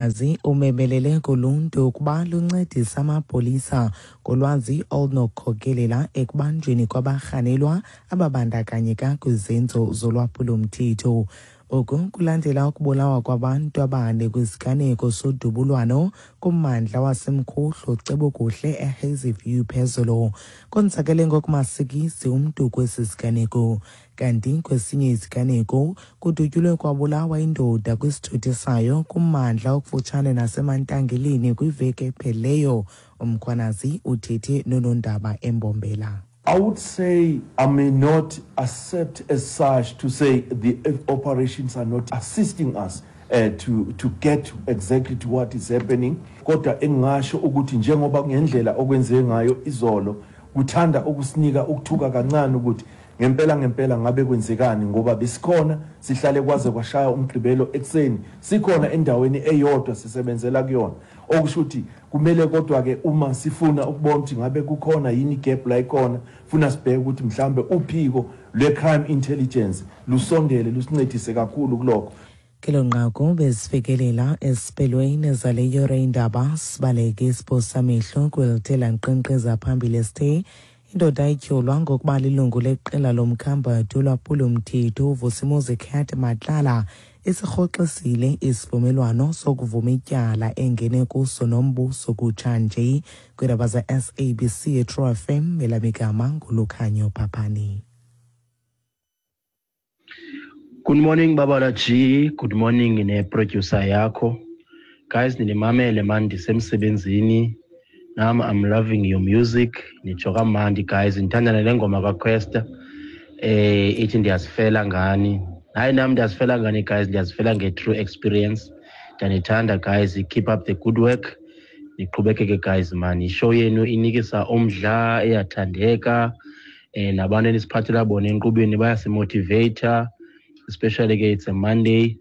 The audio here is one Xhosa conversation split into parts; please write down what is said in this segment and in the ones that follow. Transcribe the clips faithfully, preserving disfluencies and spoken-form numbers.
Azi umemelele kuluntu ukuba luncedise amapolisa ngolwazi olunokukhokelela ekubanjweni kwabarhanelwa ababandakanyeka kwizenzo zolwaphulo-mthetho. Oku kulandela ukubulawa kwabantu abane kwisiganeko sodubulwano kummandla waseMkhuhlu Cebukuhle eHazyview phezolo. Konzakele ngokumasikizi umntu kwesi siganeko. Kanti kwesinye isiganeko kudutyulwe kwabulawa indoda kwisithuthi sayo kummandla okufutshane naseMantangeleni kwiveki ephelileyo. UMkhwanazi uthethe noonondaba eMbombela. I would say I may not accept as such to say the operations are not assisting us uh, to, to get exactly to what is happening. Kodwa engingasho ukuthi njengoba ngendlela okwenzeke ngayo izolo kuthanda ukusinika ukuthuka kancane ukuthi ngempela ngempela ngabe kwenzekani, ngoba besikhona sihlale kwaze kwashaya uMgqibelo ekuseni, sikhona endaweni eyodwa sisebenzela kuyona, okusho ukuthi kumele kodwa ke uma sifuna ukubona ukuthi ngabe kukhona yini gap la ikhona, funa sibheke ukuthi mhlambe uphiko lwe-crime intelligence lusondele lusincedise kakhulu kulokho. Kelo nqaku bezifikelela esiphelweni zale yure indaba. Sibaleke isiphosamehlo kwelithela nkqenkqeza phambili sithe indoda ityholwa ngokuba lilungu leqela lomkhambathi olwaphulo-mthetho uVusimuzi Cat Matlala isirhoxisile isivumelwano sokuvuma ityala engene kuso nombuso kutshanje. Kwiindaba ze-S A B C eTru F M, elamigama nguLukhanyo Phaphani. Good morning, Babala G. Good morning ne-producer yakho. Guys, ninimamele man ndisemsebenzini. Nam I'm loving your music. Nitsho kamandi guys. Ndithanda nale ngoma kaQuesta. Eh ithi "Ndiyazifela ngani". Hayi, nam ndiyazifela ngani guys, ndiyazifela nge-true experience. Ndiyanithanda guys, keep up the good work. Niqhubekeke guys man. I-show yenu inikisa umdla, iyathandeka. Eh nabantu enisiphathela bona enkqubeni bayasimotivata, especially ke it's a Monday,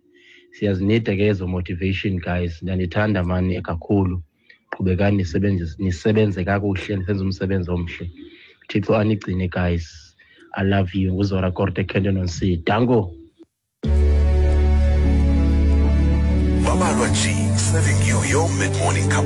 siyazinida ke ezo motivation guys. Ndiyanithanda mani kakhulu, qhubekani nisebenze, nisebenze kakuhle, nisenze umsebenzi omhle. Thixo anigcine guys, I love you. NguZora Korte, Kenton on C. Danko. Babalwa G, serving you your mid-morning cup.